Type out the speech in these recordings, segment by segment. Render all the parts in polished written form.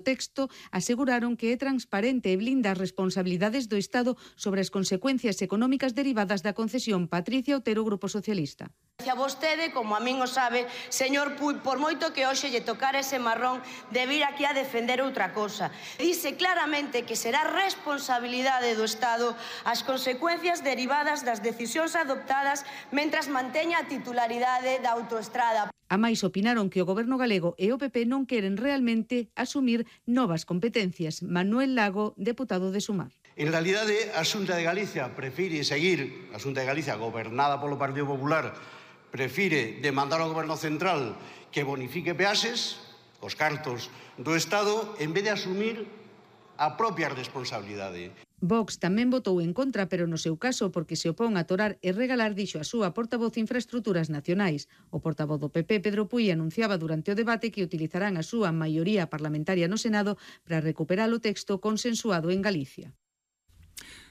texto aseguraron que é transparente e blinda as responsabilidades do Estado sobre as consecuencias económicas derivadas da concesión. Patricia Otero, Grupo Socialista. A vostede, como a min o sabe, señor Puig, por moito que hoxe lle tocar ese marrón de vir aquí a defender outra cosa. Dice claramente que será responsabilidade do Estado as consecuencias derivadas das decisións adoptadas mentras manteña a titularidade da autoestrada. A máis opinaron que o Goberno galego e o PP non queren realmente asumir novas competencias. Manuel Lago, deputado de Sumar. En realidade, a Xunta de Galicia prefire seguir, a Xunta de Galicia gobernada polo Partido Popular, prefire demandar ao Goberno Central que bonifique peaxes, os cartos do Estado, en vez de asumir a propia responsabilidade. Vox tamén votou en contra, pero no seu caso porque se opón a torar e regalar, dixo a súa portavoz de Infraestructuras Nacionais. O portavoz do PP, Pedro Puig, anunciaba durante o debate que utilizarán a súa maioría parlamentaria no Senado para recuperar o texto consensuado en Galicia.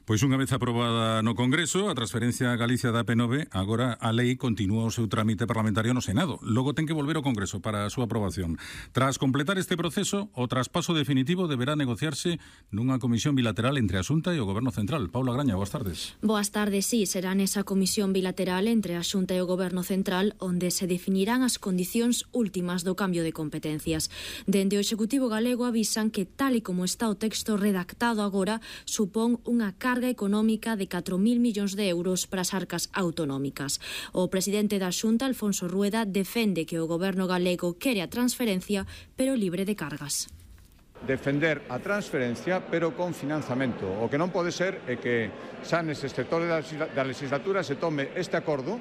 Pois unha vez aprobada no Congreso a transferencia a Galicia da AP9, agora a lei continúa o seu trámite parlamentario no Senado. Logo ten que volver ao Congreso para a súa aprobación. Tras completar este proceso, o traspaso definitivo deberá negociarse nunha comisión bilateral entre a Xunta e o Goberno Central. Paula Graña, boas tardes. Boas tardes, sí, será nesa comisión bilateral entre a Xunta e o Goberno Central onde se definirán as condicións últimas do cambio de competencias. Dende o Executivo galego avisan que tal e como está o texto redactado agora, supón unha carga económica de 4.000 millóns de euros para as arcas autonómicas. O presidente da Xunta, Alfonso Rueda, defende que o goberno galego quere a transferencia, pero libre de cargas. Defender a transferencia, pero con financiamento. O que non pode ser é que xa nese sector da legislatura se tome este acordo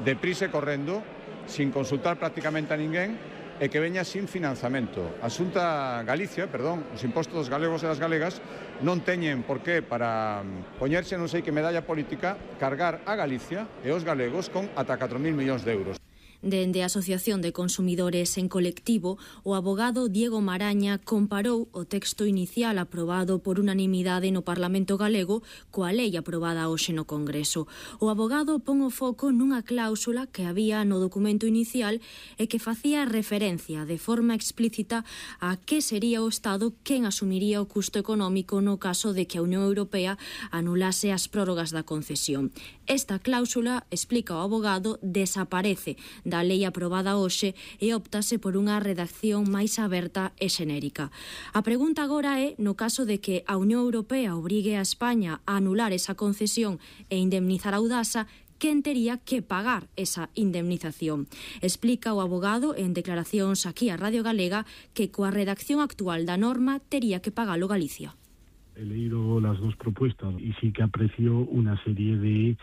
deprisa e correndo, sin consultar prácticamente a ninguén, e que veña sin financiamento. A Xunta Galicia, os impostos dos galegos e das galegas non teñen por qué para poñerse non sei que medalla política cargar a Galicia e os galegos con ata 4.000 millóns de euros. Dende a Asociación de Consumidores en Colectivo, o abogado Diego Maraña comparou o texto inicial aprobado por unanimidade no Parlamento galego coa lei aprobada hoxe no Congreso. O abogado pon o foco nunha cláusula que había no documento inicial e que facía referencia de forma explícita a que sería o Estado quen asumiría o custo económico no caso de que a Unión Europea anulase as prórrogas da concesión. Esta cláusula, explica o abogado, desaparece da lei aprobada hoxe e óptase por unha redacción máis aberta e xenérica. A pregunta agora é, no caso de que a Unión Europea obrigue a España a anular esa concesión e indemnizar a Audasa, quen tería que pagar esa indemnización. Explica o abogado en declaracións aquí a Radio Galega que coa redacción actual da norma tería que pagalo Galicia. He leído las dos propuestas y sí que aprecio una serie de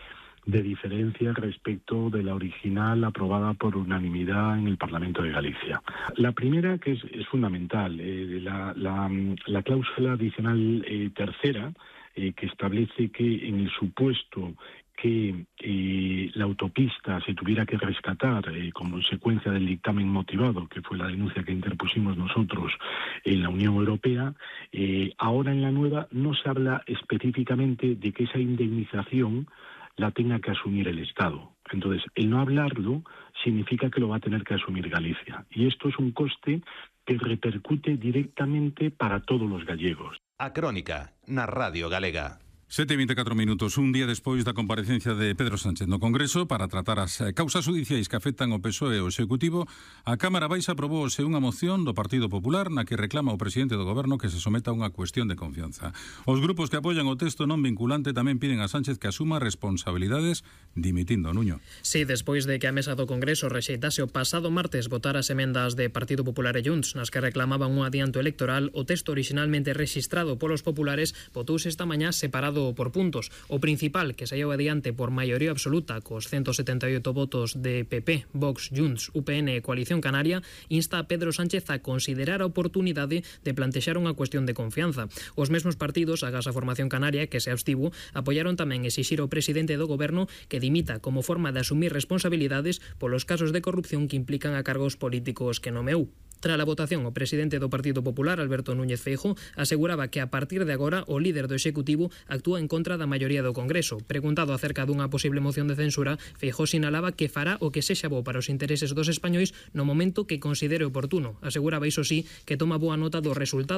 diferencias respecto de la original aprobada por unanimidad en el Parlamento de Galicia. La primera, que es fundamental, la cláusula adicional tercera, que establece que en el supuesto que la autopista se tuviera que rescatar como consecuencia del dictamen motivado, que fue la denuncia que interpusimos nosotros en la Unión Europea, ahora en la nueva no se habla específicamente de que esa indemnización la tenga que asumir el Estado. Entonces, el no hablarlo significa que lo va a tener que asumir Galicia. Y esto es un coste que repercute directamente para todos los gallegos. A Crónica, na Radio Galega. 7:24 minutos, un día despois da comparecencia de Pedro Sánchez no Congreso para tratar as causas judiciais que afectan ao PSOE e ao Executivo, a Cámara Baixa aprobouse unha moción do Partido Popular na que reclama ao presidente do Goberno que se someta a unha cuestión de confianza. Os grupos que apoian o texto non vinculante tamén piden a Sánchez que asuma responsabilidades dimitindo, Nuño. Sí, despois de que a mesa do Congreso rexeitase o pasado martes votar as emendas de Partido Popular e Junts nas que reclamaban un adianto electoral, o texto originalmente rexistrado polos populares votouse esta mañá separado por puntos. O principal, que saíu adiante por maioría absoluta cos 178 votos de PP, Vox, Junts, UPN e Coalición Canaria, insta a Pedro Sánchez a considerar a oportunidade de plantexar unha cuestión de confianza. Os mesmos partidos, agás a Formación Canaria, que se abstivo, apoiaron tamén exixir ao presidente do Goberno que dimita como forma de asumir responsabilidades polos casos de corrupción que implican a cargos políticos que nomeou. Tras a votación, o presidente do Partido Popular, Alberto Núñez Feijóo, aseguraba que a partir de agora o líder do Executivo actúa en contra da maioría do Congreso. Preguntado acerca dunha posible moción de censura, Feijóo sinalaba que fará o que sexa bo para os intereses dos españois no momento que considere oportuno. Aseguraba, iso sí, que toma boa nota do resultado